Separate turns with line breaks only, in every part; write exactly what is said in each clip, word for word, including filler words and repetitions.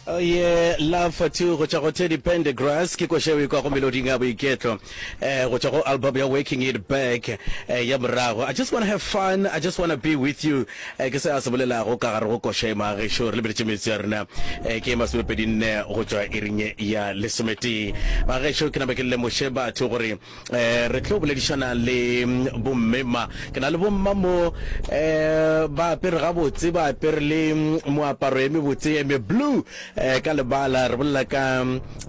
Oh yeah, Love for Two go tšwa go Teddy Pendergrass ke koša e kwa go meloding ya boiketlo eh go tšwa go album ya Working It Back eh, ya morago. I just wanna have fun, I just wanna be with you eh, ke se a se bolelago ka gare go koša e magešo re lebeletše metsi ya rena eh, ke masomepedi nne go tšwa iring ya lesometee. Magešo ke napa ke lemoše batho gore eh, re tlo boledišana le mm, bomme ma ke na le bomma mo eh, ba apere gabotse ba apere le mm, moaparo e mebotse e me blue eh, ka lebala re bolela ka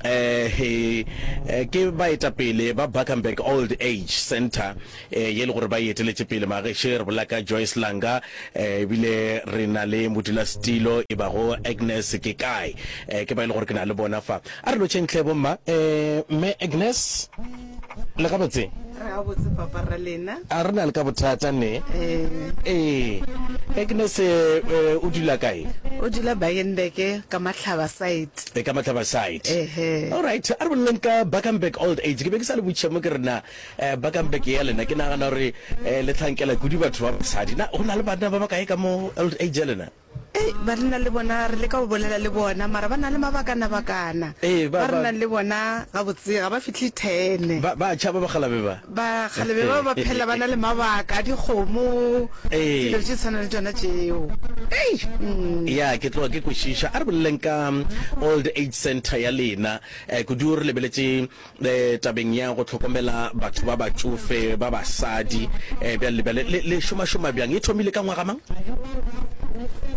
eh, he, eh, ke baetapele ba Bakenberg Old Age Center eh, ye le gore ba e eteletše pele mageše re bolela ka Joyce Langa eh, ebile re na le modulasetilo e bago Agnes ke kae eh, ke ba e le gore ke na le bona fa a re lotšheng tlhe bomma eh, mme Agnes le gabotse
re gabotse papa ra lena
a re na le ka bothata ne
eh
ee Agnes eh, eh, o dula kae
o dula Bakenberg ka Mahlaba side
e ka Mahlaba side
ehe
all right a re boleleng ka Bakenberg Old Age ke be ke sa le botšiša mo ke rena eh, Bakenberg ya lena ke nagana gore eh, le tlhankela kudu batho ba basadi na go na le banna ba ba kae ka mo old age ya lena
Ei, ba re na le bona re leka go bolela le bona mara ba na le mabakana-bakana
Ee, ba-
ba re
ba-
nang le bona gabotse ga ba fihle ten
ba ba tšhaba bakgalabe ba
ba kgalebe ba ba phela ba na le mabaka a dikgomo
Ee.
dilo tše tshwana le tsona tšeo
ya ke tloga ke kwešiša a re boleleng ka um, old age center ya lena eh, kudu re lebeletše eh, tabeng ya go hlokomela batho ba batšofe ba basadi eh, bjale le bjale le le šomašoma bjang e thomile ka ngwaga mang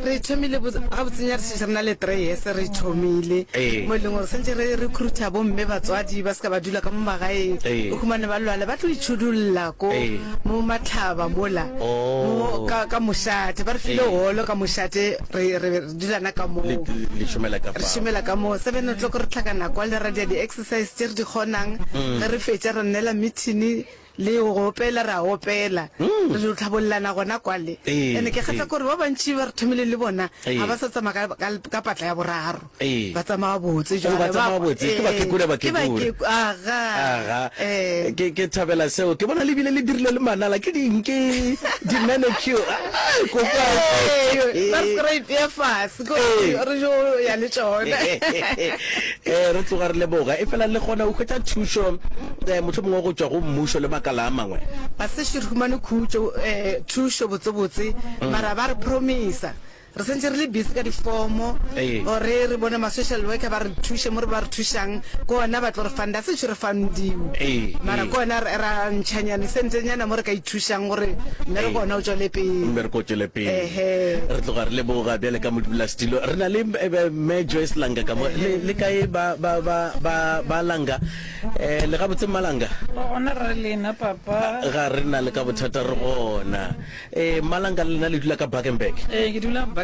re thomile gabotsenya re šetše re na le three years re thomile
Ee.
mo e leng gore santse re recruita bomme batswadi ba se ka ba dula ka mo magaeng
Ee.
o humane ba lwala ba tlo itšhudulla ko
Ee.
mo matlhaba mola
Oh.
mo ka, ka mošate ba re file
Ee.
holo ka mošate re re re dulana ka moo
le le šomela ka
re
fao
šomela ka moo seven o'clock re tlhakana kwa le ra dia di-exercise tše re di kgonang ge re fetša re nnela meeting le go opela re a opela re dio tlhabollana gona kwale
Ee,
ande ke kgatlha
ee.
kore ba bantši ba re thomile le bona
Ee.
ga ba sa tsamaya ka, ka, ka patla ya boraro
Ee.
ba tsamaya botse
Oh, ba tsamaya botse. Ke bakekula,
Ee, ke
bakekula.
bakeku- aga
aga
Eh.
ke ke thabela seo ke bona le bile le dirile le manala ke ding ke di-manicure Ah, kopa
Ee, ba re se ra ipea fase ko
Ee.
re jo ya le tšona
eh re tloga re leboga e fela le kgona go hwetša thušo eh, mohlomongwe go tšwa go mmušo le makala a mangwe
ba sešo re humane khutšo um thušo botsebotse mara ba re promisa re santse re le busy ka difomo
Ee.
gore re bone ma-social worker ba re thuše mo re ba re thušang ke ona ba tlo re funda sešo re fundiwe
Ee,
mara
ee.
ke ona re ra ntšhanyane sentenyana mo re ka ithušang gore mmereko ona o tswele pele
mmereko o tšwele pele
Ehe.
re tloga re leboga bjale ka modulasetilo re na le eh, eh, mme Joyce Langa ka mo le le kae ba ba ba ba ba Langa eh le gabotse Mmalanga
gona re lena papa
ga re na le ka bothata re gona eh Mmalanga le lena le dula ka Bakenberg
ee ke dula Bakenberg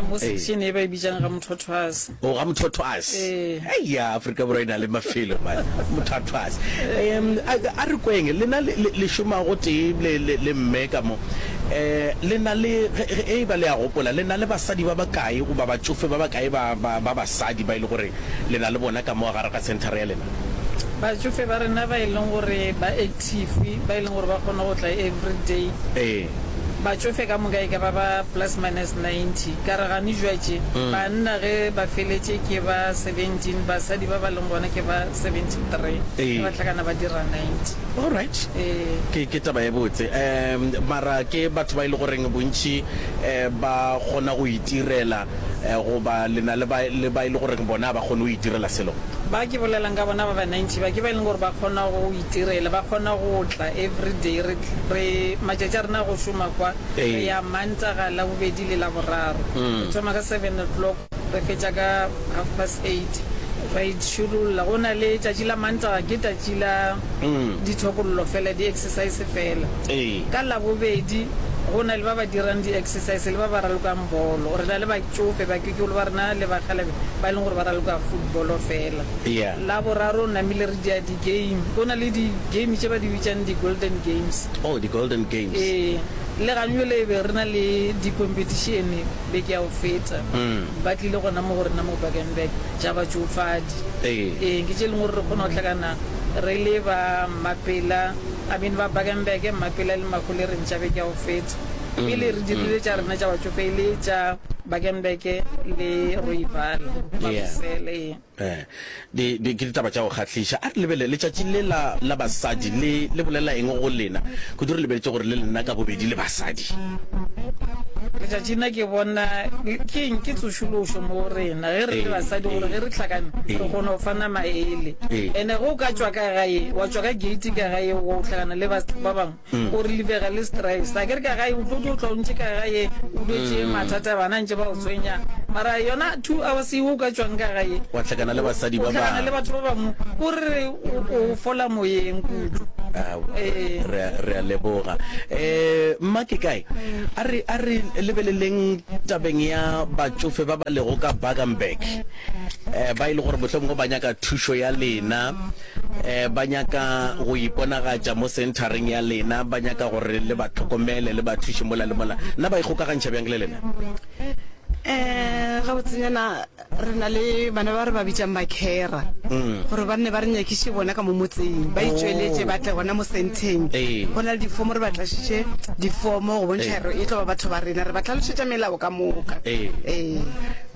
mo section e ba e bitsang ga Mothothwase
o ga Mothothwase
Ee.
eya Afrika Borwa e na le mafelo man Mothothwase um a a re kweng lena le le- le šoma go tee le le le mme ka mo eh le na le ge ge e ba le a gopola le na le basadi ba bakae goba batšofe ba bakae ba ba ba basadi ba e le gore le na le bona ka mo gare ga center ya lena
batšofe ba rena ba e leng gore ba active ba e leng gore ba kgona go tla every day
ee
batšofe ka moka e ka ba ba plus minus ninety ka re gane jwatše banna ge ba feletše ke ba seventeen basadi ba ba leng gona ke ba seventy three
Ee.
ba tlhakana ba dira ninety
all right
ee
ke ke taba e botse um mara ke batho ba e le goreng bontši um ba kgona go itirela eh, goba le na le ba le ba e le goreng bona ba kgone go itirela selo
ba ke bolelang ka bona ba ba ninety ba ke ba e leng gore ba kgona go itirela ba kgona go tla every day re re matšatši a rena a go šoma kwa
Ee.
re ya mantaga la bobedi le la boraro re thoma ka seven o'clock re fetša ka half past eight ra itšhulolla go na le tšatši la mantaga ke tšatši la dithokollo fela di-exercise fela
Ee.
ka labobedi go na le ba ba dirang di-exercise le ba ba ralokang bolo re na le batšofe bakekolo ba rena le bakgalabe ba e leng gore ba raloka footballo fela
Yeah.
la boraro namile re dia di-game go na le di-game tše ba di bitsang di-golden games
oh the golden games
ee le ganyole e be re na le di-competition beke ya go feta ba tlile gona mo go rena mo Bakenberg tša batšofadi
Ee.
ee ke tše e leng gore re kgona go tlhakana re le ba Mapela I mean ba Bakenberg Mapela le Mahulereng tša beke ya go feta pele re dirile tša rena tša batšofe e le tša Bakenberg le Rooiwal
Yeah.
Mabusele.
Eh, di, di, ke ditaba tša go kgahliša. A re lebelele letšatši le la, la basadi le, le bolela eng go lena? Kudu re lebeletše gore le lena ka bobedi le basadi.
Letšatši nna ke bona ke eng, ke tsošološo mo go rena ge re le
Ee,
basadi, gore
ee.
ge re hlakane
Ee.
re kgona go fana maele.
Ee.
Ene ge o ka tšwa ka gae, wa tšwa ka gate ka gae, o hlakana le ba ba bangwe, o relievega le stress. A ke re ka gae o tlo tlo tla o ntše ka gae, o dutše mathata, bana ntše ba o tshwenya, mara yona two hours eo o ka tšwang ka gae,
Wa hlakana le basadi
o
ba
hlakana le
bangwe.
batho ba bangwe, o re o o fola moyeng kudu.
Aowa,
Ee.
re a, re a leboga. Eh, mma ke kae? A re, a re lebeleleng tabeng ya batšofe ba ba lego ka Bakenberg, eh, ba e le gore mohlomongwe ba nyaka thušo ya lena, eh, ba nyaka go iponagatša mo senthareng ya lena, ba nyaka gore le ba hlokomele, le ba thuše mola le mola. Na ba ikgokagantšha bjang le lena?
Um gabotsenyana re na le bana ba re ba bitsang bakhera, gore ba nne ba re nyakiše bona ka mo motseng, ba itšweletše, ba tle gona mo senteng.
Ee.
Go na le difomo, re ba tlašitše difomo go bontšha
Ee.
gore e tlo ba batho ba rena, re ba tlhalošetša melao ka moka.
Ee.
Ee.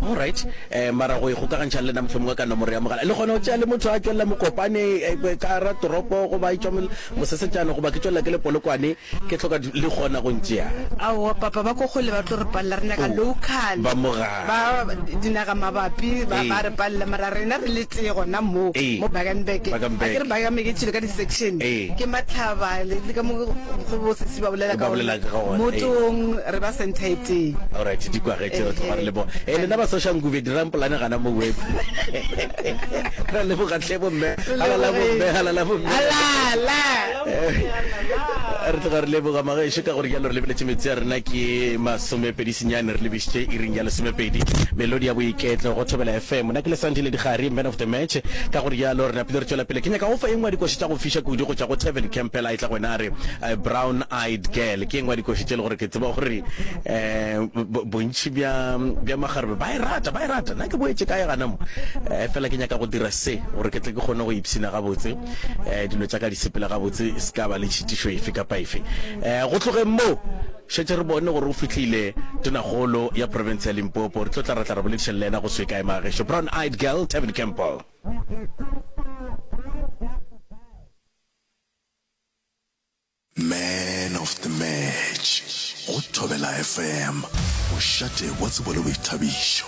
Alright, eh, mara go ikgokagantšha le lena mohlomongwe ka nomoro ya mogala, le kgona go tšea le motho a tšwelela Mokopane, eh, ka ra toropo, goba e tšwa mol-, Mosesetšane, goba ke tšwelela ke le Polokwane, ke hloka di-, le kgona go ntšea?
Aowa papa, ba ko kgole ba tlo re palela, re nyaka
Oh,
local.
ba mo gae.
Ba dinaga mabapi ba
Ee.
ba re palela, mara rena re le tee gona mo
Ee.
mo Bakenberg.
Bakenberg.
A ke re Bakenberg e tšwile ka di-section.
Ee.
Ke Matlhaba le le ka mo go bo sesi ba bolela
Ba
ka
bolela
gona.
ka gona, ee.
Motong re ba center e tee.
Alright, di kwagetše, re tloga re leboga. Eh, lena ba Soshanguve dirang polane gana mo web. Re leboga tlhe bomme. Halala bomme, halala bomme.
Halala.
Re tloga re leboga magešo ka gore jalo re lebeletše metsi a rena ke masomepedi senyane, re lebišitše iring ya lesomepedi. Melodi ya boiketlo go Thobela F M. Nna ke le Sandile Digari, man of the match. Ka gore jalo re napile re tšwela pele. Ke nyaka go fa e nngwe ya dikoši tša go fiša kudu go tšwa go Tevin Campbell, a e tla go wena a re, eh, Brown Eyed Girl. Ke e nngwe ya dikoši tše le gore ke tseba gore, eh, bo-, bontši bja, bja magarebe ba e rata, ba e rata. Nna ke boetše kae gana mo? Eh, fela ke nyaka go dira se gore ke tle ke kgone go ipshina gabotse, eh, dilo tša ka di sepela gabotse, se ka ba le tšhitišo efe kapa efe. Eh, go tlogeng mo, šetše re bone gore o fihlile tonakgolo ya province ya Limpopo. Re tlo tla ra tla ra boledišana le yena go se kae magešo. Brown Eyed Girl, Tevin Campbell.
Man of the match go Thobela F M, mošate wa tsebo le boithabišo.